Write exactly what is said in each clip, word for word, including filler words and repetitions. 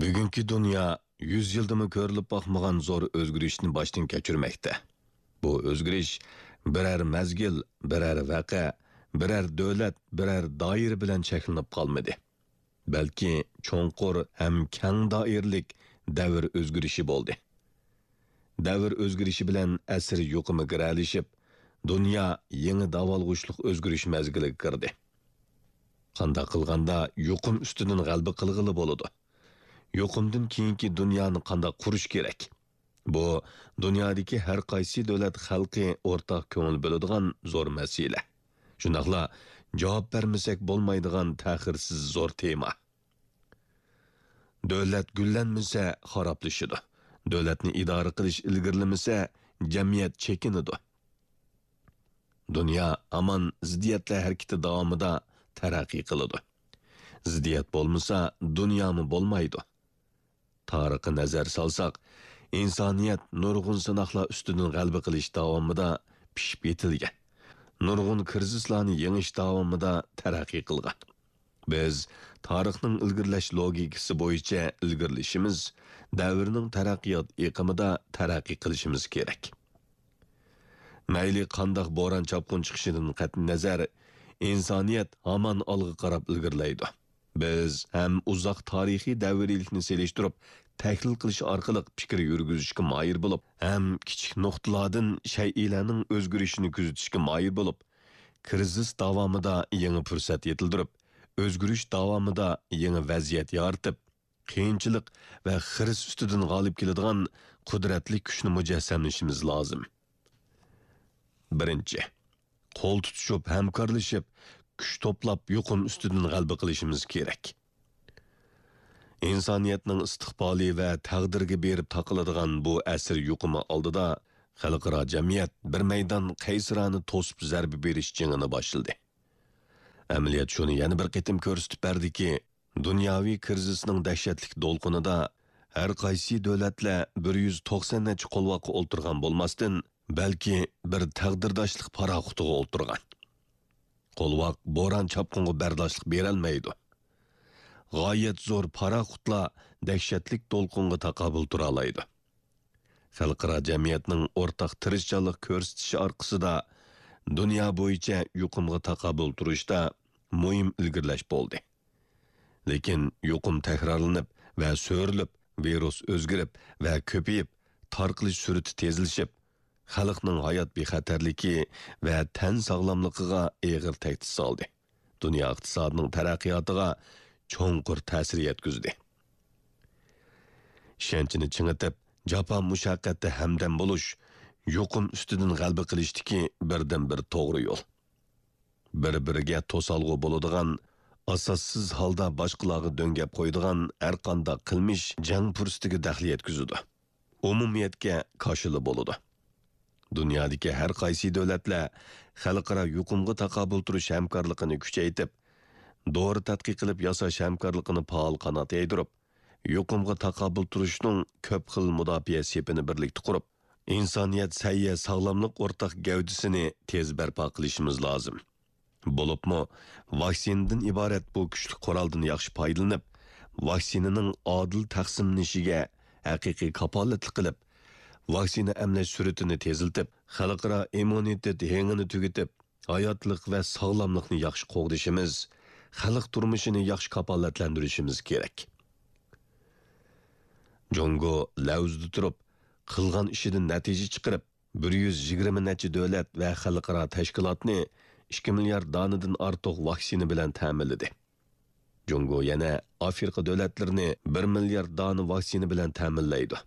بۈگۈنكى دۇنيا يۈز يىلدىمۇ كۆرۈلۈپ باقمىغان زور ئۆزگىرىشنى باشتىن كەچۈرمەكتە. بۇ ئۆزگىرىش بىرەر مەزگىل، بىرەر ۋەقە، بىرەر دۆلەت، بىرەر دائىرە بىلەن چەكلىنىپ قالمىدى. بەلكى چوڭقۇر ھەم كەڭ دائىرىلىك دەۋر ئۆزگىرىشى بولدى. دەۋر ئۆزگىرىشى بىلەن ئەسىر يۇقۇمى گىرەلىشىپ، دۇنيا يېڭى داۋالغۇشلۇق ئۆزگىرىش مەزگىلىگە كىردى. قانداق قىلغاندا يۇقۇم ئۈستىدىن غەلىبە قىلغىلى بولىدۇ؟ يۇقۇمدىن كېيىنكى دۇنيانى قانداق قۇرۇش كېرەك؟ بۇ دۇنيادىكى ھەر قايسى دۆلەت خەلقى ئورتاق كۆڭۈل بۆلىدىغان زور مەسىلە. شۇنداقلا جاۋاب بەرمىسەك بولمايدىغان تەخىرسىز زور تېما. دۆلەت گۈللەنمىسە، خارابلىشىدۇ. دۆلەتنى ئىدارە قىلىش ئىلگىرىلىمىسە، جەمئىيەت چېكىنىدۇ. دۇنيا ھامان زىددىيەتلەر ھەرىكىتى داۋامىدا تەرەققىي قىلىدۇ. زىددىيەت بولمىسا، دۇنيامۇ بولمايدۇ. تارىخقا نەزەر سالساق، ئىنسانىيەت نۇرغۇن سىناقلار ئۈستىدىن غەلىبە قىلىش داۋامىدا پىشىپ يېتىلگەن. نۇرغۇن كىرىزىسلارنى يېڭىش داۋامىدا تەرەققىي قىلغان. بىز تارىخنىڭ ئىلگىرىلەش لوگىكىسى بويىچە ئىلگىرىلىشىمىز، دەۋرنىڭ تەرەققىيات ئېقىمىدا تەرەققىي قىلىشىمىز كېرەك. مەيلى قانداق بوران-چاپقۇن چىقىشىدىن قەتئىينەزەر، ئىنسانىيەت ھامان ئالغا قاراپ ئىلگىرىلەيدۇ. بىز ھەم ئۇزاق تارىخىي دەۋرىيلىكنى سېلىشتۇرۇپ تەھلىل قىلىش ئارقىلىق پىكىر يۈرگۈزۈشكە ماھىر بولۇپ، ھەم كىچىك نۇقتىلاردىن شەيئىلەرنىڭ ئۆزگىرىشىنى كۆزىتىشكە ماھىر بولۇپ، كىرىزىس داۋامىدا يېڭى پۇرسەت يېتىلدۈرۈپ، ئۆزگىرىش داۋامىدا يېڭى ۋەزىيەت يارىتىپ، قىيىنچىلىق ۋە خىرىس ئۈستىدىن غالىب كېلىدىغان قۇدرەتلىك كۈچنى مۇجەسسەملىشىمىز لازىم. بىرىنچى، قول تۇتۇشۇپ، ھەمكارلىشىپ، كۈچ توپلاپ، يۇقۇم ئۈستىدىن غەلىبە قىلىشىمىز كېرەك. ئىنسانىيەتنىڭ ئىستىقبالى ۋە تەقدىرىگە بېرىپ تاقىلىدىغان بۇ ئەسىر يۇقۇمى ئالدىدا خەلقئارا جەمئىيەت بىر مەيدان قەيسىرانە توسۇپ زەربە بېرىش جېڭىنى باشلىدى. ئەمەلىيەت شۇنى يەنە بىر قېتىم كۆرسىتىپ بەردىكى، دۇنياۋى كىرىزىسنىڭ دەھشەتلىك دولقۇنىدا ھەر قايسى دۆلەتلەر بىر يۈز توقسان نەچچە قولۋاققا ئولتۇرغان بولماستىن، بەلكى بىر تەقدىرداشلىق پاراخوتىغا ئولتۇرغان. قولۋاق بوران-چاپقۇنغا بەرداشلىق بېرەلمەيدۇ. غايەت زور پاراخوتلا دەھشەتلىك دولقۇنغا تاقابىل تۇرالايدۇ. خەلقئارا جەمئىيەتنىڭ ئورتاق تىرىشچانلىق كۆرسىتىشى ئارقىسىدا دۇنيا بويىچە يۇقۇمغا تاقابىل تۇرۇشتا مۇھىم ئىلگىرىلەش بولدى. لېكىن يۇقۇم تەكرارلىنىپ ۋە سۆرىلىپ، ۋىرۇس ئۆزگىرىپ ۋە كۆپىيىپ، تارقىلىش سۈرئىتى تېزلىشىپ، خەلقنىڭ ھايات بىخەتەرلىكى ۋە تەن ساغلاملىقىغا ئېغىر تەھدىت سالدى. دۇنيا ئىقتىسادىنىڭ تەرەققىياتىغا چوڭقۇر تەسىر يەتكۈزدى. ئىشەنچنى چىڭىتىپ، جاپا-مۇشەققەتتە ھەمدەم بولۇش يۇقۇم ئۈستىدىن غەلىبە قىلىشتىكى بىردىنبىر توغرا يول. بىر-بىرىگە توسالغۇ بولىدىغان، ئاساسسىز ھالدا باشقىلارغا دۆڭگەپ قويىدىغان ھەرقانداق قىلمىش جەڭ پۇرسىتىگە دەخلى يەتكۈزىدۇ. ئومۇمىيەتكە كاشىلا بولىدۇ. دۇنيادىكى ھەر قايسى دۆلەتلەر خەلقئارا يۇقۇمغا تاقابىل تۇرۇش ھەمكارلىقىنى كۈچەيتىپ، دورا تەتقىق قىلىپ ياساش ھەمكارلىقىنى پائال قانات يايدۇرۇپ، يۇقۇمغا تاقابىل تۇرۇشنىڭ كۆپ خىل مۇداپىئە سېپىنى بىرلىكتە قۇرۇپ، ئىنسانىيەت سەھىيە ساغلاملىق ئورتاق گەۋدىسىنى تېز بەرپا قىلىشىمىز لازىم. بولۇپمۇ ۋاكسىنىدىن ئىبارەت بۇ كۈچلۈك قورالدىن ياخشى پايدىلىنىپ، ۋاكسىنىنىڭ ئادىل تەقسىملىنىشىگە ھەقىقىي كاپالەتلىك قىلىپ، ۋاكسىنا ئەملەش سۈرئىتىنى تېزلىتىپ، خەلقئارا ئىممۇنىتېت ھېڭىنى تۈگىتىپ، ھاياتلىق ۋە ساغلاملىقنى ياخشى قوغدىشىمىز، خەلق تۇرمۇشىنى ياخشى كاپالەتلەندۈرۈشىمىز كېرەك. جۇڭگو لەۋزىدە تۇرۇپ، قىلغان ئىشىدىن نەتىجە چىقىرىپ، بىر يۈز يىگىرمە نەچچە دۆلەت ۋە خەلقئارا تەشكىلاتنى ئىككى مىليارد دانىدىن ئارتۇق ۋاكسىنا بىلەن تەمىنلىدى. جۇڭگو يەنە ئافرىقا دۆلەتلىرىنى بىر مىليارد دانە ۋاكسىنا بىلەن تەمىنلەيدۇ.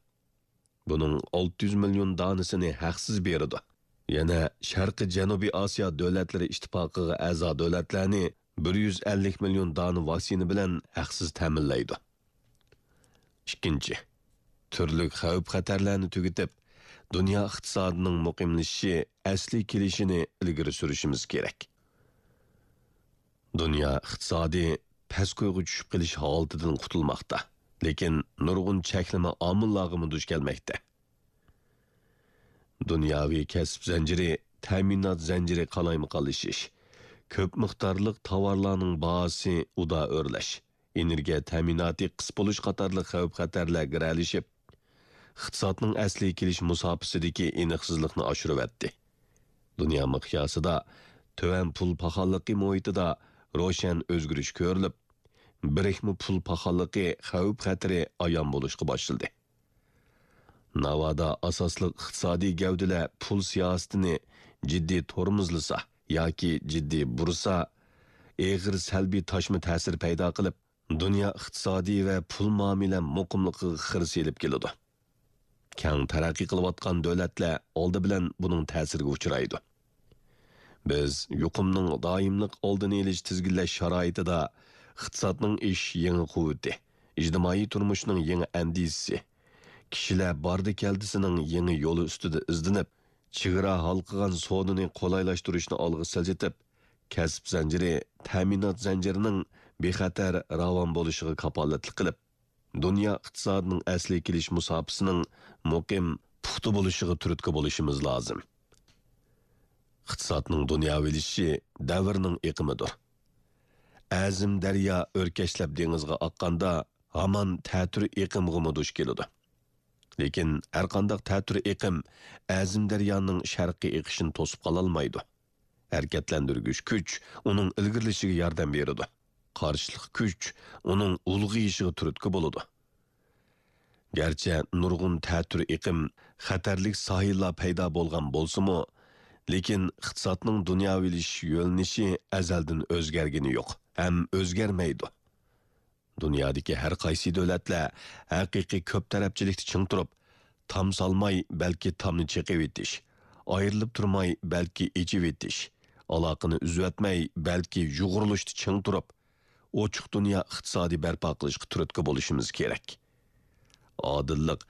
بۇنىڭ ئالتە يۈز مىليون دانىسىنى ھەقسىز بېرىدۇ. يەنە شەرقىي جەنۇبىي ئاسىيا دۆلەتلىرى ئىتتىپاقىغا ئەزا دۆلەتلەرنى بىر يۈز ئەللىك مىليون دانە ۋاكسىنا بىلەن ھەقسىز تەمىنلەيدۇ. ئىككىنچى، تۈرلۈك خەۋپ-خەتەرلەرنى تۈگىتىپ، دۇنيا ئىقتىسادىنىڭ مۇقىملىشىشى، ئەسلىي كېلىشىنى ئىلگىرى سۈرۈشىمىز كېرەك. دۇنيا ئىقتىسادى پەسكويغا چۈشۈپ قېلىش ھالىتىدىن قۇتۇلماقتا، لېكىن نۇرغۇن چەكلىمە ئامىللارغىمۇ دۇچ كەلمەكتە. دۇنياۋى كەسىپ زەنجىرى، تەمىنات زەنجىرى قالايمىقانلىشىش، كۆپ مىقدارلىق تاۋارلارنىڭ باھاسى ئۇدا ئۆرلەش، ئېنېرگىيە تەمىناتى قىس بولۇش قاتارلىق خەۋپ-خەتەرلەر گىرەلىشىپ، ئىقتىسادنىڭ ئەسلىگە كېلىش مۇساپىسىدىكى ئېنىقسىزلىقنى ئاشۇرۇۋەتتى. دۇنيا مىقياسىدا تۆۋەن پۇل پاخاللىقى مۇھىتىدا روشەن ئۆزگىرىش كۆرۈلۈپ، بىرىكمە پۇل پاخاللىقى خەۋپ-خەتىرى ئايان بولۇشقا باشلىدى. ناۋادا ئاساسلىق ئىقتىسادىي گەۋدىلەر پۇل سىياسىتىنى جىددىي تورمۇزلىسا ياكى جىددىي بۇرسا، ئېغىر سەلبىي تاشما تەسىر پەيدا قىلىپ، دۇنيا ئىقتىسادى ۋە پۇل مۇئامىلە مۇقىملىقىغا خىرىس ئېلىپ كېلىدۇ. كەڭ تەرەققىي قىلىۋاتقان دۆلەتلەر ئالدى بىلەن بۇنىڭ تەسىرىگە ئۇچرايدۇ. بىز يۇقۇمنىڭ دائىملىق ئالدىنى ئېلىش، تىزگىنلەش شارائىتىدا ئىقتىسادنىڭ ئېشىش يېڭى قۇۋۋىتى، ئىجتىمائىي تۇرمۇشنىڭ يېڭى ئەندىزىسى، كىشىلەر باردى-كەلدىسىنىڭ يېڭى يولى ئۈستىدە ئىزدىنىپ، چېگرا ھالقىغان سودىنى قولايلاشتۇرۇشنى ئالغا سىلجىتىپ، كەسىپ زەنجىرى، تەمىنات زەنجىرىنىڭ بىخەتەر، راۋان بولۇشىغا كاپالەتلىك قىلىپ، دۇنيا ئىقتىسادىنىڭ ئەسلىگە كېلىش مۇساپىسىنىڭ مۇقىم، پۇختا بولۇشىغا تۈرتكە بولۇشىمىز لازىم. ئىقتىسادنىڭ دۇنياۋىلىشىشى دەۋرنىڭ ئېقىمىدۇر. ئەزىم دەريا ئۆركەشلەپ دېڭىزغا ئاققاندا، ھامان تەتۈر ئېقىمغىمۇ دۇچ كېلىدۇ. لېكىن ھەرقانداق تەتۈر ئېقىم ئەزىم دەريانىڭ شەرققە ئېقىشىنى توسۇپ قالالمايدۇ. ھەرىكەتلەندۈرگۈچ كۈچ ئۇنىڭ ئىلگىرىلىشىگە ياردەم بېرىدۇ. قارشىلىق كۈچ ئۇنىڭ ئۇلغىيىشىغا تۈرتكە بولىدۇ. گەرچە نۇرغۇن تەتۈر ئېقىم، خەتەرلىك ساھىللار پەيدا بولغان بولسىمۇ، لېكىن ئىقتىسادنىڭ دۇنياۋىلىشىش يۆنىلىشى ئەزەلدىن ئۆزگەرگىنى يوق ھەم ئۆزگەرمەيدۇ. دۇنيادىكى ھەر قايسى دۆلەتلەر ھەقىقىي كۆپ تەرەپچىلىكتە چىڭ تۇرۇپ، تام سالماي، بەلكى تامنى چېقىۋېتىش، ئايرىلىپ تۇرماي، بەلكى ئېچىۋېتىش، ئالاقىنى ئۈزۈۋەتمەي، بەلكى يۇغۇرۇلۇشتا چىڭ تۇرۇپ، ئوچۇق دۇنيا ئىقتىسادى بەرپا قىلىشقا تۈرتكە بولۇشىمىز كېرەك. ئادىللىق،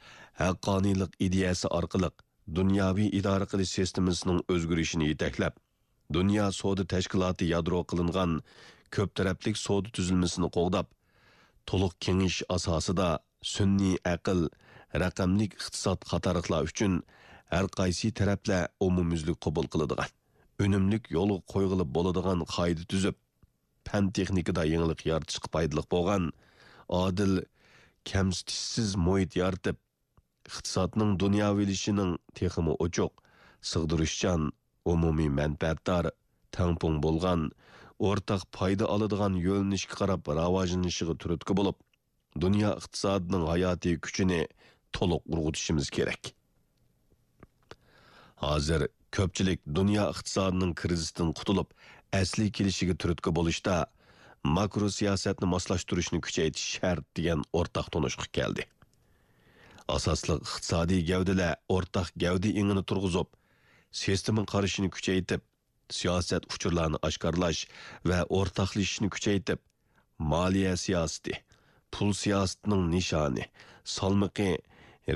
ھەققانىيلىق ئىدىيەسى ئارقىلىق دۇنياۋى ئىدارە قىلىش سىستېمىسىنىڭ ئۆزگىرىشىنى يېتەكلەپ، دۇنيا سودا تەشكىلاتى يادرو قىلىنغان كۆپ تەرەپلىك سودا تۈزۈلمىسىنى قوغداپ، تولۇق كېڭىشىش ئاساسىدا سۈنئىي ئەقىل، رەقەملىك ئىقتىساد قاتارلىقلار ئۈچۈن ھەر قايسى تەرەپلەر ئومۇميۈزلۈك قوبۇل قىلىدىغان، ئۈنۈملۈك يولغا قويغىلى بولىدىغان قائىدە تۈزۈپ، پەن-تېخنىكىدا يېڭىلىق يارىتىشقا پايدىلىق بولغان ئادىل، كەمسىتىشسىز مۇھىت يارىتىپ، ئىقتىسادنىڭ دۇنياۋىلىشىشىنىڭ تېخىمۇ ئوچۇق، سىغدۇرۇشچان، ئومۇمىي مەنپەئەتدار، تەڭپۇڭ بولغان، ئورتاق پايدا ئالىدىغان يۆنىلىشكە قاراپ راۋاجلىنىشىغا تۈرتكە بولۇپ، دۇنيا ئىقتىسادىنىڭ ھاياتىي كۈچىنى تولۇق ئۇرغۇتۇشىمىز كېرەك. ھازىر كۆپچىلىك دۇنيا ئىقتىسادىنىڭ كىرىزىستىن قۇتۇلۇپ، ئەسلىگە كېلىشىگە تۈرتكە بولۇشتا ماكرو سىياسەتنى ماسلاشتۇرۇشنى كۈچەيتىش شەرت دېگەن ئورتاق تونۇشقا كەلدى. ئاساسلىق ئىقتىسادىي گەۋدىلەر ئورتاق گەۋدە ئېڭىنى تۇرغۇزۇپ، سىستېما قارىشىنى كۈچەيتىپ، سىياسەت ئۇچۇرلارنى ئاشكارىلاش ۋە ئورتاقلىشىشنى كۈچەيتىپ، مالىيە سىياسىتى، پۇل سىياسىتىنىڭ نىشانى، سالمىقى،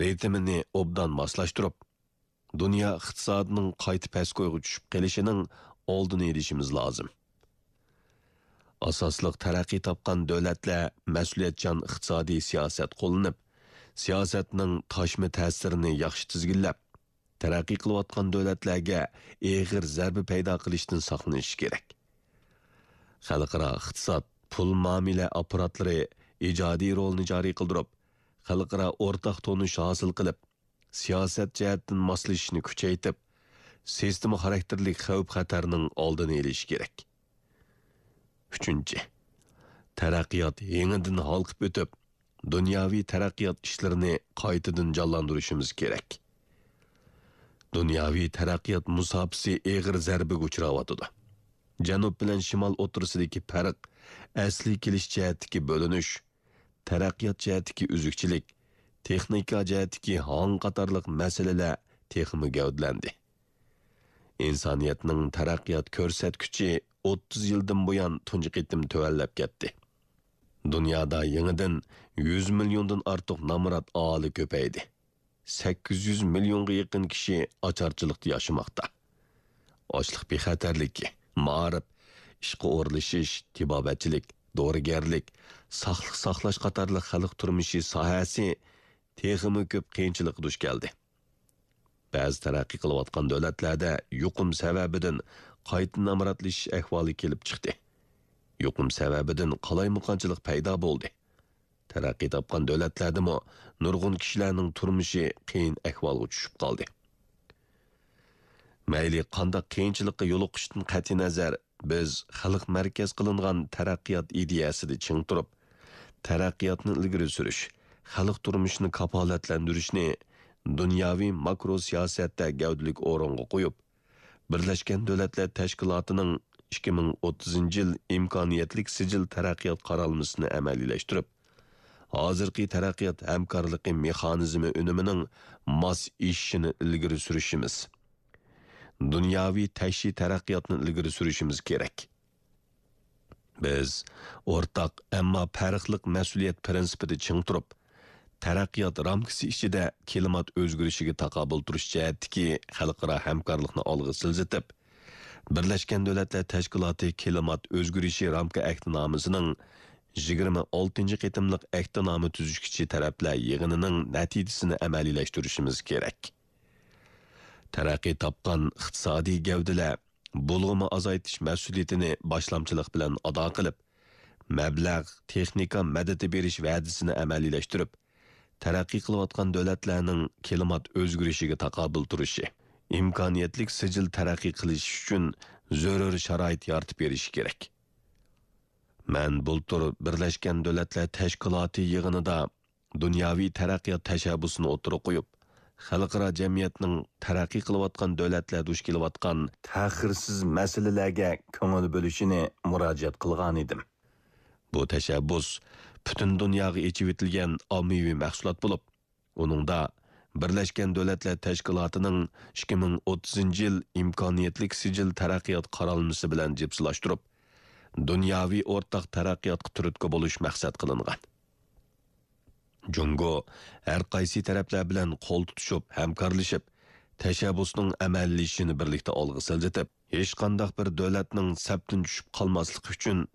رىتىمىنى ئوبدان ماسلاشتۇرۇپ، دۇنيا ئىقتىسادىنىڭ قايتا پەسكويغا چۈشۈپ قېلىشىنىڭ ئالدىنى ئېلىشىمىز لازىم. ئاساسلىق تەرەققىي تاپقان دۆلەتلەر مەسئۇلىيەتچان ئىقتىسادىي سىياسەت قوللىنىپ، سىياسەتنىڭ تاشما تەسىرىنى ياخشى تىزگىنلەپ، تەرەققىي قىلىۋاتقان دۆلەتلەرگە ئېغىر زەربە پەيدا قىلىشتىن ساقلىنىشى كېرەك. خەلقئارا ئىقتىساد، پۇل مۇئامىلە ئاپپاراتلىرى ئىجادىي رولىنى جارى قىلدۇرۇپ، خەلقئارا ئورتاق تونۇش ھاسىل قىلىپ، سىياسەت جەھەتتىن ماسلىشىشنى كۈچەيتىپ، سىستېما خاراكتېرلىك خەۋپ-خەتەرنىڭ ئالدىنى ئېلىشى كېرەك. ئۈچىنچى، تەرەققىيات يېڭىدىن ھالقىپ ئۆتۈپ، دۇنياۋى تەرەققىيات ئىشلىرىنى قايتىدىن جانلاندۇرۇشىمىز كېرەك. دۇنياۋى تەرەققىيات مۇساپىسى ئېغىر زەربىگە ئۇچراۋاتىدۇ. جەنۇب بىلەن شىمال ئوتتۇرىسىدىكى پەرق، ئەسلىگە كېلىش جەھەتتىكى بۆلۈنۈش، تەرەققىيات جەھەتتىكى ئۈزۈكچىلىك، تېخنىكا جەھەتتىكى ھاڭ قاتارلىق مەسىلىلەر تېخىمۇ گەۋدىلەندى. ئىنسانىيەتنىڭ تەرەققىيات كۆرسەتكۈچى ئوتتۇز يىلدىن بۇيان تۇنجى قېتىم تۆۋەنلەپ كەتتى. دۇنيادا يېڭىدىن يۈز مىليوندىن ئارتۇق نامرات ئاھالە كۆپەيدى. سەككىز يۈز مىليونغا يېقىن كىشى ئاچارچىلىقتا ياشىماقتا. ئاشلىق بىخەتەرلىكى، مائارىپ، ئىشقا ئورۇنلىشىش، تېبابەتچىلىك، دورىگەرلىك، ساقلىق ساقلاش قاتارلىق خەلق تۇرمۇشى ساھەسى تېخىمۇ كۆپ قىيىنچىلىققا دۇچ كەلدى. بەزى تەرەققىي قىلىۋاتقان دۆلەتلەردە يۇقۇم سەۋەبىدىن قايتا نامراتلىشىش ئەھۋالى كېلىپ چىقتى. يۇقۇم سەۋەبىدىن قالايمىقانچىلىق پەيدا بولدى. تەرەققىي تاپقان دۆلەتلەردىمۇ نۇرغۇن كىشىلەرنىڭ تۇرمۇشى قىيىن ئەھۋالغا چۈشۈپ قالدى. مەيلى قانداق قىيىنچىلىققا يولۇقۇشتىن قەتئىينەزەر، بىز خەلق مەركەز قىلىنغان تەرەققىيات ئىدىيەسىدە چىڭ تۇرۇپ، تەرەققىياتنى ئىلگىرى سۈرۈش، خەلق تۇرمۇشىنى كاپالەتلەندۈرۈشنى دۇنياۋى ماكرو سىياسەتتە گەۋدىلىك ئورۇنغا قويۇپ، بىرلەشكەن دۆلەتلەر تەشكىلاتىنىڭ ئىككى مىڭ ئوتتۇزىنچى يىل ئىمكانىيەتلىك سىجىل تەرەققىيات قارالمىسىنى ئەمەلىيلەشتۈرۈپ، ھازىرقى تەرەققىيات ھەمكارلىقى مېخانىزمى ئۈنۈمىنىڭ ماس ئېشىشىنى ئىلگىرى سۈرۈشىمىز، دۇنياۋى تەكشى تەرەققىياتنى ئىلگىرى سۈرۈشىمىز كېرەك. بىز ئورتاق، ئەمما پەرقلىق مەسئۇلىيەت پىرىنسىپىدا چىڭ تۇرۇپ، تەرەققىيات رامكىسى ئىچىدە كىلىمات ئۆزگىرىشىگە تاقابىل تۇرۇش جەھەتتىكى خەلقئارا ھەمكارلىقنى ئالغا سىلجىتىپ، بىرلەشكەن دۆلەتلەر تەشكىلاتى كىلىمات ئۆزگىرىشى رامكا ئەھدىنامىسىنىڭ يىگىرمە ئالتىنچى قېتىملىق ئەھدىنامە تۈزۈشكۈچى تەرەپلەر يىغىنىنىڭ نەتىجىسىنى ئەمەلىيلەشتۈرۈشىمىز كېرەك. تەرەققىي تاپقان ئىقتىسادىي گەۋدىلەر بۇلغىما ئازايتىش مەسئۇلىيىتىنى باشلامچىلىق بىلەن ئادا قىلىپ، مەبلەغ، تېخنىكا مەدىتى بېرىش ۋەدىسىنى ئەمەلىيلەشتۈرۈپ، تەرەققىي قىلىۋاتقان دۆلەتلەرنىڭ كىلىمات ئۆزگىرىشىگە تاقابىل تۇرۇشى، ئىمكانىيەتلىك سىجىل تەرەققىي قىلىشى ئۈچۈن زۆرۈر شارائىت يارىتىپ بېرىشى كېرەك. مەن بۇلتۇر بىرلەشكەن دۆلەتلەر تەشكىلاتى يىغىنىدا دۇنياۋى تەرەققىيات تەشەببۇسىنى ئوتتۇرىغا قويۇپ، خەلقئارا جەمئىيەتنىڭ تەرەققىي قىلىۋاتقان دۆلەتلەر دۇچ كېلىۋاتقان تەخىرسىز مەسىلىلەرگە كۆڭۈل بۆلۈشىنى مۇراجىئەت قىلغانىدىم. بۇ تەشەببۇس پۈتۈن دۇنياغا ئېچىۋېتىلگەن ئاممىۋى مەھسۇلات بولۇپ، ئۇنىڭدا بىرلەشكەن دۆلەتلەر تەشكىلاتىنىڭ ئىككى مىڭ ئوتتۇزىنچى يىل ئىمكانىيەتلىك سىجىل تەرەققىيات قارالمىسى بىلەن جىپسىلاشتۇرۇپ، دۇنياۋى ئورتاق تەرەققىياتقا تۈرتكە بولۇش مەقسەت قىلىنغان. جۇڭگو ھەر قايسى تەرەپلەر بىلەن قول تۇتۇشۇپ، ھەمكارلىشىپ، تەشەببۇسنىڭ ئەمەلىيلىشىشىنى بىرلىكتە ئالغا سىلجىتىپ، ھېچقانداق بىر دۆلەتنىڭ سەپتىن چۈشۈپ قالماسلىقى ئۈچۈن